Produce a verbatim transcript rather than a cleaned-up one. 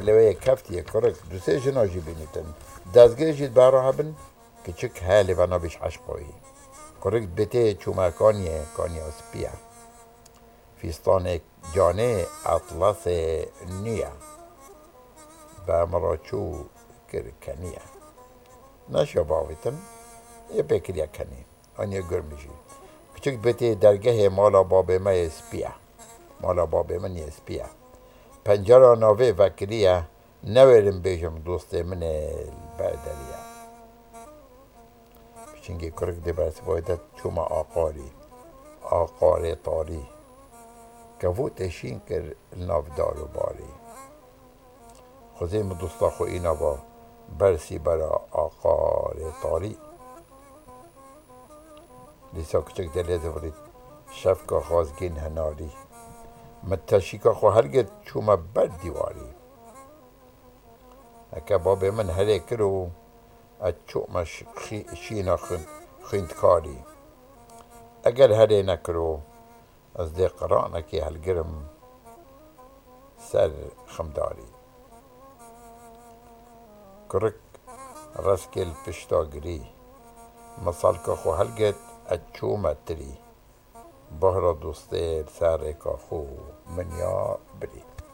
Leweyê keftiye kurik, du sê jina jî bînîtin. Dezgê jî di bera hebin, kiçik he lê ve nabîş eşqoyî. Kurik dibêtê çûma kaniyê, kaniya spiye. Fîstanê canê etlasê nû ye. Be min re çû kir keniye. Neşiya bavêtin, ê pê kiriye kenî. Aniye gurmî jî. Kiçik dibêtê dergehê mala babê me yê spî ye. Mala babê min yê spî ye. Pencera navê vekirî ye. Newêrim bêjim dostê min ê li ber derî ye. Piçingê kurik dê bersivayê de çûma aqarî. Aqarê tarî. Kevûtê şîn kir li nav dar û barî. Xwezê min dosta xwe îna va bersî bera aqarê tarî. Dîsa kiçik dilê zivirît, şefka xwazgîn hinarî. Min teşîka xwe hilgirt, çûme ber dîwarî. Heke babê min herê kiro, ez çûme ş-, xî-, şîna xwin-, xwîndkarî. Eger herê nekiro, ez dê qiranekê hilgirim ser ximdarî. Kurik reskê li pişta girî. Min salka xwe hilgirt, ez çûme tirî. Bahra dostê li ser rêka xwe min ya birî.